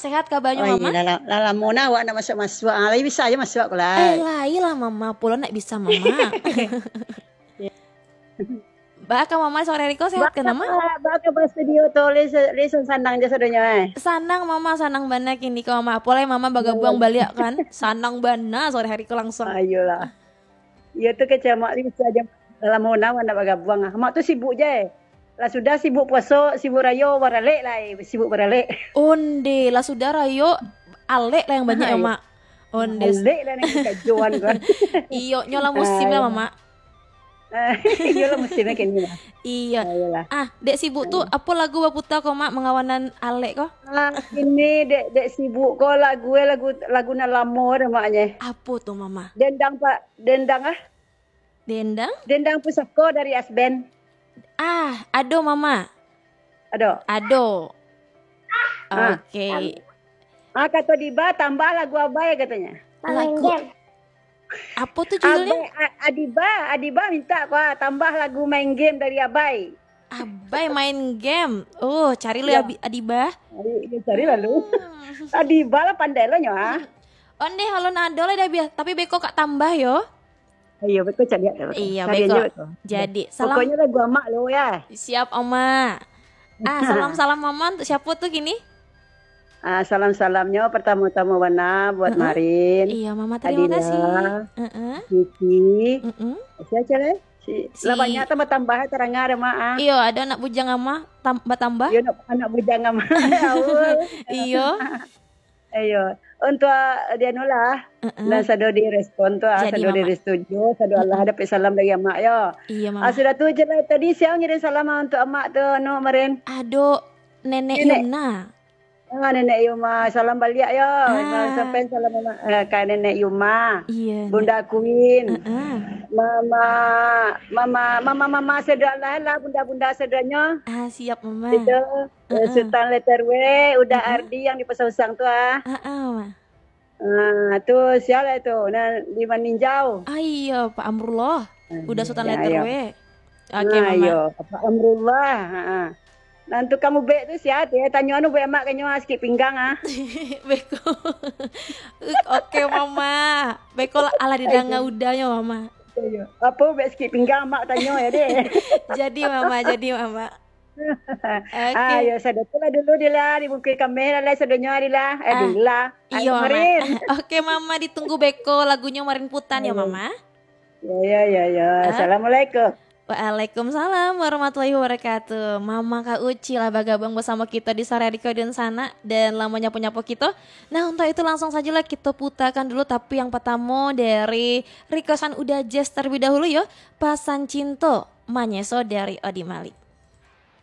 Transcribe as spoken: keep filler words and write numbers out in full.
Sehat kabarnyo, Mama? Lah, lah, lah lamo nah awak ndak masuak-masuak. Ah, lai bisa aja masuak ko lai. Eh, lai lah, Mama. Pulo ndak bisa, Mama. Baa ka Mama sore hari ko, sehat ka, Mama? Baa ka, baa ka ba studio tu, lai sa-, lai sanang je sadonyo, eh. Sanang, Mama, sanang bana kini ko, Mama. Apo lai Mama bagabuang baliak kan? Sanang bana sore hari ko langsuang. Ayolah. Iyo tu kecek Mak ni bisa aja lamo nah awak ndak bagabuang ah. Mak tu sibuk je. Lah sudah sibuk puaso, sibuk rayo, baralek lah, eh, sibuk baralek. Onde, lah sudah rayo, alek lah yang banyak ya, Mak? Onde. Alek lah nan kajoan kan. Iyo, nyo lah musim lah, Mama. Iyo lah musimnyo kini lah. Iyo. Ayolah. Ah, dek sibuk tu, apo lagu baputa ko, Mak, mangawanan alek ko? Ah, kini dek, dek sibuk ko lagu, eh, lagu, lagu nan lamo dah, Mak, nye. Apo tu, Mama? Dendang, Pak. Dendang, ah. Dendang? Dendang Pusako dari Asband. Ah, ado, Mama. Ado? Ado. Ah. Oke. Ah, kato Diba, tambah lagu Abai, katonyo. Lagu apo tu judulnyo? Abai, A-, Adiba, Adiba minta ko, ah, tambah lagu Main Game dari Abai. Abai main game. Oh, cari lo ya, Abi-, Adiba. Cari, ya, cari lalu. Hmm. Adiba lah pandai lo nyo, ah. Onde, halo nado lah dah biasa, tapi beko kak tambah yo. Iyo, beko caliak dah, beko. Iyo, cari beko. Aja beko. Jadi, salam. Pokoknyo lagu Amak lo ya. Siap, Oma. Ah, salam-salam Mama untuk siapa tu kini? Ah, salam-salamnyo pertama-tama bana buat Marin. Iyo, Mama, terima kasih. Adila, Kiki. Siapa lagi? Si, lah banyak tambah-tambah, tarangah dah, Mak, ah. Iyo, ado anak bujang Ama, tam-, batambah. Iyo, anak, anak bujang Ama. Aul. Iyo. Iyo. Untuk, ah, di anu lah. Nan sado direspon tu, ah, jadi, sado Mama. Direstuju, sado Allah dapek salam dari Amak, yo. Iyo, Mama. Ah, sudah tu je lah. Tadi sia ngirim salam, ah, untuk Amak tu, anu, Marin. Ado Nenek Nenek. Yumna. Ah, Nenek Yuma, salam baliak yo. Ah. Sampaian salam mama, eh, ka Nenek Yuma. Iya, Bunda Queen. Heeh. Mama, mama, mama, mama Sedra lah, lah, bunda-bunda Sedranyo. Ah, siap, Mama. Itu, eh, Heeh. Sultan Leterwe, Uda Heeh. Ardi yang di Pasar Usang tu, ah. Heeh, Ma. Ah, tu, sia lah tu, nah, di Maninjau. Ah, iya, Pak Amrullah. Ah, Uda Sultan iya, Leterwe. Oke, ah, Mama. Iya, Pak Amrullah, ha. Nan tukang ubek tu sia, eh, tanyo anu ubek Amak kanyo, ah, sikit pinggang, ah. Beko. Oke, Mama. Beko lah, alah didanga Udanyo, Mama. Iya. Apo ubek sikit pinggang Amak tanyo ya, deh. Jadi, Mama, jadi, Mama. Oke. Ah, ya, sado tu lah dulu, Dila, di muka kamera lah, sadonyo, Dila. Eh, Ah, Dila. Ayo, iyo, Mama. Marin. Oke, Mama, ditunggu beko lagunyo Marin putan ya, Mama. Ya, ya, ya, ya. Ah. Assalamualaikum. Waalaikumsalam warahmatullahi wabarakatuh. Mama Kak Uci lah bagabung basamo kito di sore hari ko di sana, dan lah manyapo-nyapo kito. Nah, untuk itu langsung sajalah kito putakan dulu, tapi yang pertamo dari requestan Uda Jazz terlebih dahulu yo, Pasan Cinto, Manyeso dari Odi Malik.